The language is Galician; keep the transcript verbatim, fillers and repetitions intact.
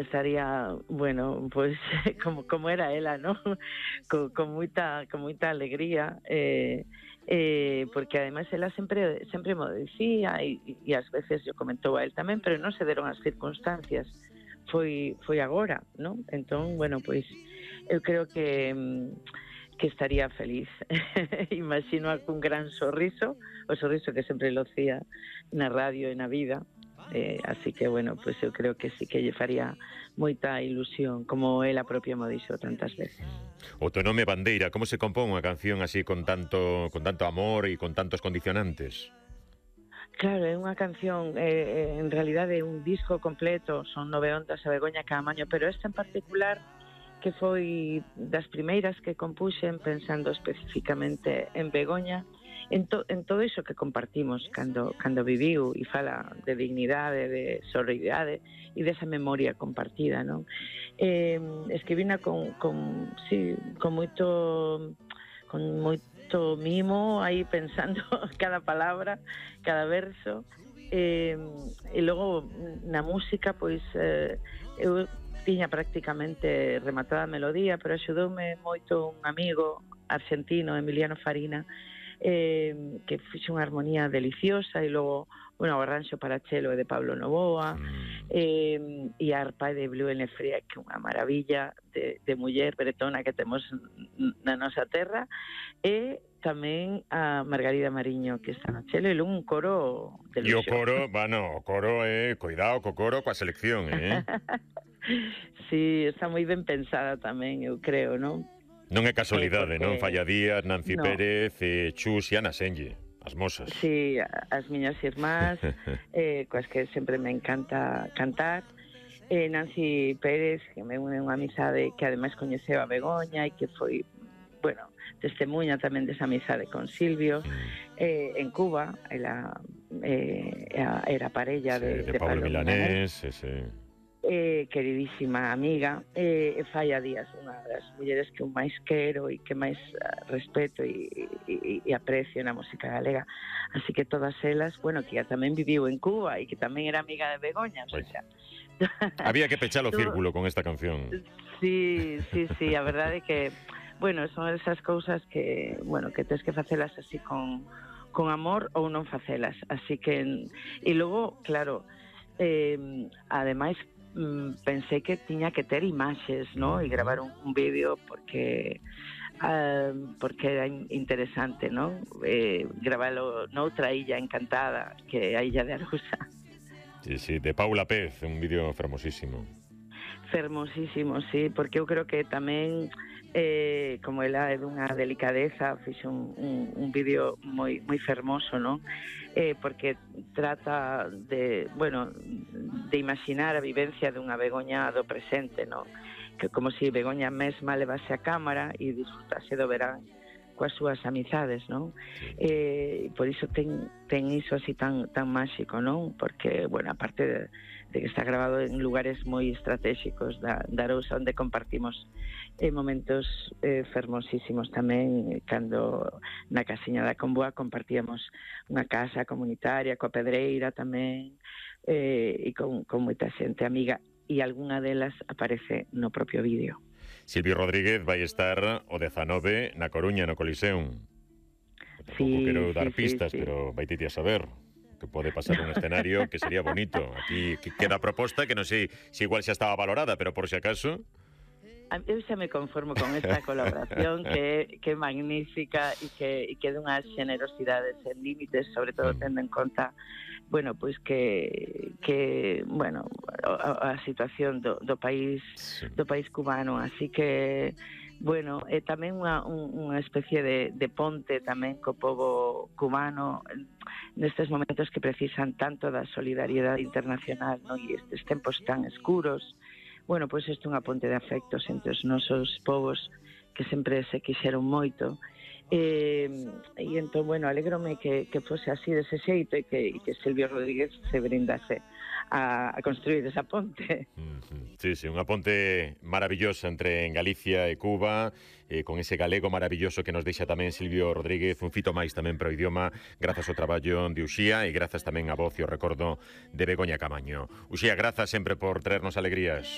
estaría, bueno, pois como como era ela, ¿no? Con, con moita con moita alegría, eh, eh, porque ademais ela sempre sempre mo dicía e, e ás veces yo comentou a él tamén, pero non se deron as circunstancias. Foi foi agora, ¿no? Entón, bueno, pois eu creo que que estaría feliz. Imagino cun gran sorriso, o sorriso que sempre lucía na radio e na vida. Eh, así que, bueno, pues eu creo que sí que lle faría moita ilusión, como ela propia mo dixo tantas veces. O teu nome Bandeira, como se compón unha canción así con tanto con tanto amor e con tantos condicionantes? Claro, é unha canción, eh, en realidade é un disco completo, son nove ondas a Begoña Caamaño, pero esta en particular, que foi das primeiras que compuxen pensando especificamente en Begoña, en, to, en todo iso que compartimos cando, cando viviu e fala de dignidade, de sororidade e desa memoria compartida, non? Eh, escribina con, con, sí, con moito con moito mimo aí pensando cada palabra, cada verso, eh, e logo na música pois eh, eu tiña prácticamente rematada a melodía, pero axudoume moito un amigo argentino, Emiliano Farina, eh, que fixe unha armonía deliciosa, e logo, bueno, o arranxo para chelo de Pablo Novoa, eh, e a arpa de Blue Nefría, que é unha maravilla de, de muller bretona que temos na nosa terra, e tamén a Margarida Mariño, que está no chelo, e logo un coro de luxo. E o coro, bueno, o coro, eh, cuidado co coro, coa selección, eh? Sí, está moi ben pensada tamén, eu creo, non? Non é casualidade, porque... non? Falla Díaz, Nancy no. Pérez, eh, Chus e Ana Senlle, as mosas. Sí, as miñas irmás, eh, coas que sempre me encanta cantar. Eh, Nancy Pérez, que me une unha amizade que ademais coñeceu a Begoña e que foi, bueno, testemunha tamén desa amizade con Silvio. Eh, en Cuba, ela eh, era parella sí, de, de, de Pablo, Pablo Milanés, Milanés. Ese... Eh, queridísima amiga, eh, Falla Díaz, unha das mulleres que eu máis quero e que máis uh, respeto e, e, e aprecio na música galega, así que todas elas, bueno, que tamén viviu en Cuba e que tamén era amiga de Begoña, o sea, había que pechar o círculo con esta canción. Sí, sí, sí, a verdade é que, bueno, son esas cousas que, bueno, que tens que facelas así con, con amor ou non facelas, así que, e logo, claro, eh, ademais pensei que tiña que ter imaxes, ¿no? E gravar un, un vídeo porque uh, porque era interesante, ¿no? Eh, gravalo noutra illa encantada, que é a Illa de Arousa. Sí, sí, de Paula Pez, un vídeo fermosísimo. Fermosísimo, sí, porque eu creo que tamén eh, como ela é dunha delicadeza, fixe un, un, un vídeo moi moi fermoso, non? Eh, porque trata de, bueno, de imaginar a vivencia dunha Begoña do presente, non? Que como se si Begoña mesma levase a cámara e disfrutase do verán coas súas amizades, non? Eh, por iso ten, ten iso así tan tan máxico, non? Porque, bueno, aparte de, de que está grabado en lugares moi estratégicos da, da Arousa, onde compartimos eh, momentos eh, fermosísimos tamén, cando na casiña da Comboa compartíamos unha casa comunitaria coa Pedreira tamén, eh, e con, con moita xente amiga, e algunha delas aparece no propio vídeo. Silvio Rodríguez vai estar o dezanove na Coruña, no Coliseum. Tampouco sí, quero dar sí, pistas, sí, sí. pero vai a saber que pode pasar un escenario que sería bonito. Aquí queda a proposta que non sei se igual xa estaba valorada, pero por si acaso... Eu xa me conformo con esta colaboración que, que é magnífica e que, e que é dunhas generosidades sen límites, sobre todo tendo en conta, bueno, pois que, que bueno, a, a situación do, do país sí. do país cubano, así que, bueno, é tamén unha, unha especie de, de ponte tamén co pobo cubano nestes momentos que precisan tanto da solidariedade internacional, non? E estes tempos tan escuros. Bueno, pois isto é unha ponte de afectos entre os nosos povos que sempre se quixeron moito. E, e entón, bueno, alegrome que, que fose así dese xeito e que, e que Silvio Rodríguez se brindase a, a construir esa ponte. Sí, sí, unha ponte maravillosa entre Galicia e Cuba, eh, con ese galego maravilloso que nos deixa tamén Silvio Rodríguez, un fito máis tamén para o idioma, grazas ao traballo de Uxía e grazas tamén a voz e o recordo de Begoña Caamaño. Uxía, grazas sempre por traernos alegrías.